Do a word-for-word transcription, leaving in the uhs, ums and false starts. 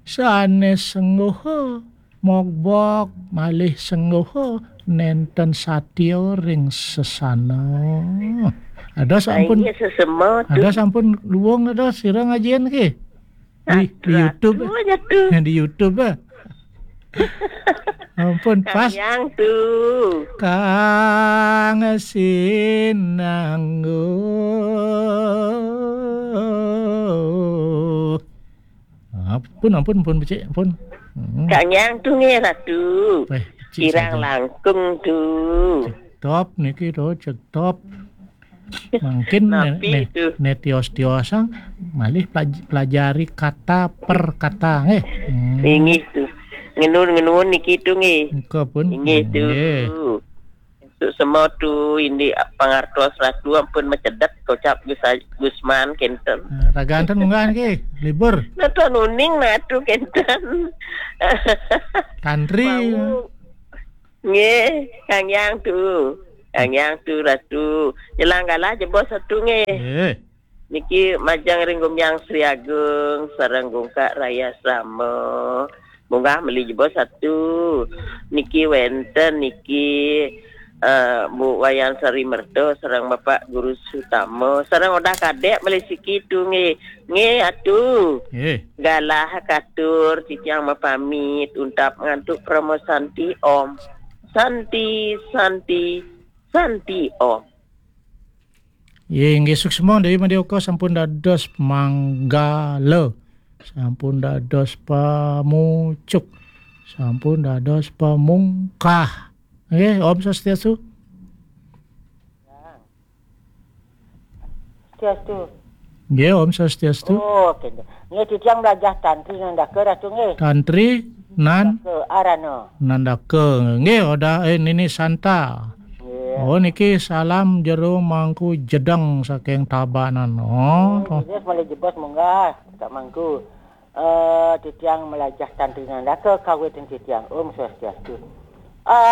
Sané sengguh mogbog malih sengguh nénten satia ring sesana. Ada sampun, Iya, sesema tu. Ada sampun luung ada sira ngajin ki. Di, di YouTube. Di YouTube, eh. Ampun, pas. Yang tu. Kang Sinanggu. Ampun, ampun, ampun, becik, ampun. Hmm. Kang Yang tu nggih, Ratu. Eh, becik. Kirang saja. Langkung tu. Cek top niki to, cek top. Mungkin ne, ne, ne tios-tiosang malih pelaj-, pelajari kata per kata nggih. Hmm. Inggih tu. Ngenun-ngenun niki tu nggih. Engka pun. Inggih tu. Nggih. Untuk semua tu indik pangartos Ratu ampun macedet kocap Gus Aj-, Gusman kenten. Nah, ragan ten munggah niki libur. Nonton uning nah tu kenten. Tantri. Mau. Nggih, Kang Yang tu. Kang Yang tu Ratu. Jelang galah jebos satu nggih. Nggih. Niki majeng ring Gumyang Sri Agung sareng Gungkak Raya Sama. Munggah meli jebos satu. Niki wenten niki, eh, Bu Wayan Sari Merta sareng Bapak Guru Sutama sareng Odah Kadek meli siki tu nggih. Nggih atu. Nggih. Galah katur titiang mapamit untap ngantuk Parama Santi Om. Santi, Santi, Santi Om. Ye, inggih suksma Dewi Madya Oka sampun dados manggala. Sampun dados pamucuk. Sampun dados pamungkah. Nggih, Om Swastiastu. Swastiastu. Nggih, Om Swastiastu. Oh, kenten. Nggih, titiang mlajah Tantri Nandaka, Ratu, nggih. Tantri Nan-, Nandaka, Arana. Nandaka. Nggih, Odah, eh, Nini Santa. Nggih. Oh, niki salam jero Mangku Jedeng saking Tabanan. Oh, oh, to. Nggih, malih jebos munggah, Kak Mangku. Eh, titiang mlajah Tantri Nandaka kawitin titiang. Om Swastiastu. Ah,